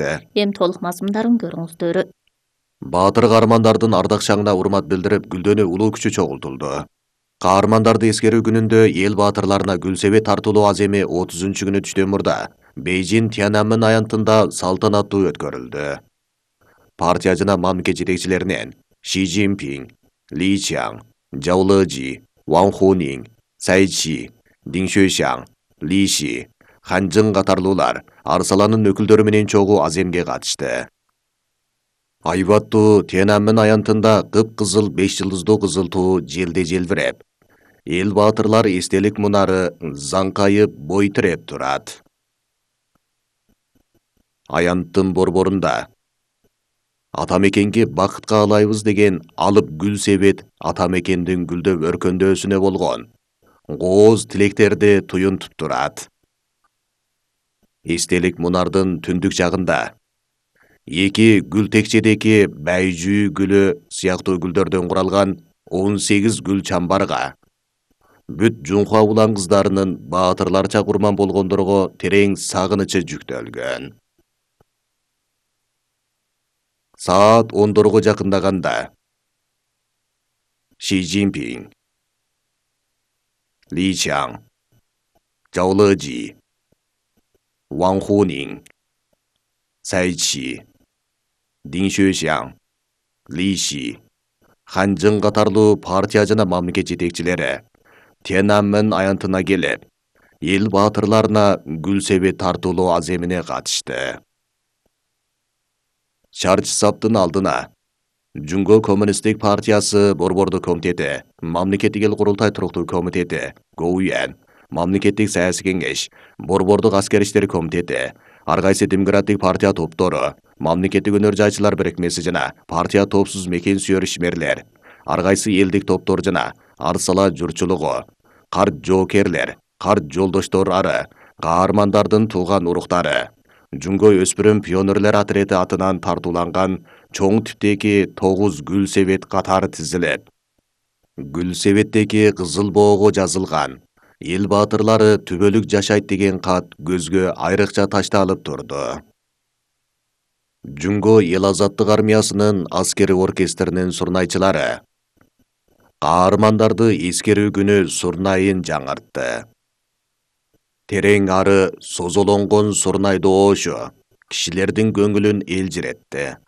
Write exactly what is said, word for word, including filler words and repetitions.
берди. Эми толук мазмундарын көрүңүздөр. Баатыр каармандардын ардак шаңына урмат билдирип, гүлдөнүү улуу күчү чогултулду. Каармандарды эскерүү күнүндө эл баатырларына гүл себет тартуулоо аземи отузунчу күнү түштөн мурда Бейжин Тяньаньмэнь аянтында салтанаттуу өткөрүлдү. Партия жана мамлекет жетекчилеринен Ши Цзиньпин, Ли Чжан, Жао Лежи, Ван Хунин, Цай Чи, Дин Xuexiang, Ли Ши, Хан Чжэн катарлуулар Арсаландын өкүлдөрү менен чогуу аземге катышты. Айбаттуу Тяньаньмэнь аянтында кып-кызыл беш жылдыздуу кызыл туу желде желбиреп, эл баатырлар эстелик мунары заңкайып бой тиреп турат. Аянттын борборунда ата мекенге бакыт каалайбыз деген алып гүл себет ата мекендин гүлдөп өркөндөөсүнө болгон кооз тилектерди туюнтуп турат. Эстелик мунардын түндүк жагында эки гүл текчедеки байжүү гүлү сыяктуу гүлдөрдөн куралган он сегиз гүл чамбарга бүт жунхуа улан кыздарынын баатырларча курман болгондорго терең сагынычы жүктөлгөн. Саат ондорго жакындаганда Ши Цзиньпин, Ли Чжан, Жао Лежи, Ван Хунин, Цай Чи, Дин Xuexiang, Ли Ши, Хан Чжэн катарлуу партия жана мамлекет жетекчилери Тяньаньмэнь аянтына келип, эл баатырларына гүл себет тартуулоо аземине катышты. Чарч-Саптын алдына Жунго коммунисттик партиясы борбордук комитети, мамлекеттик эл курултай туруктуу комитети, Гоуян, мамлекеттик саясий кеңеш, борбордук аскер иштери комитети, ар кайсы демократик партия топтору, мамлекеттик өнөр жайчылар бирикмеси жана партия топсуз мекен сүйөр ишмерлер, ар кайсы элдик топтор жана Арсала журтчулугу, карт жоокерлер, карт жолдоштор ары, каармандардын тууган уруктары, Жунго өспүрүм пионерлер отрети атынан тартууланган чоң типтеги тогуз гүл себет катары тизилип, гүл себеттеги кызыл боого жазылган эл баатырлары түбөлүк жашайт деген кат көзгө айрыкча ташталып турду. Жунго эл азаттык армиясынын аскери оркестринин сурнайчылары каармандарды эскерүү күнү сурнайын жаңыртты. Терең ары созолонгон сурнай доошу кишилердин көңүлүн элжиретти.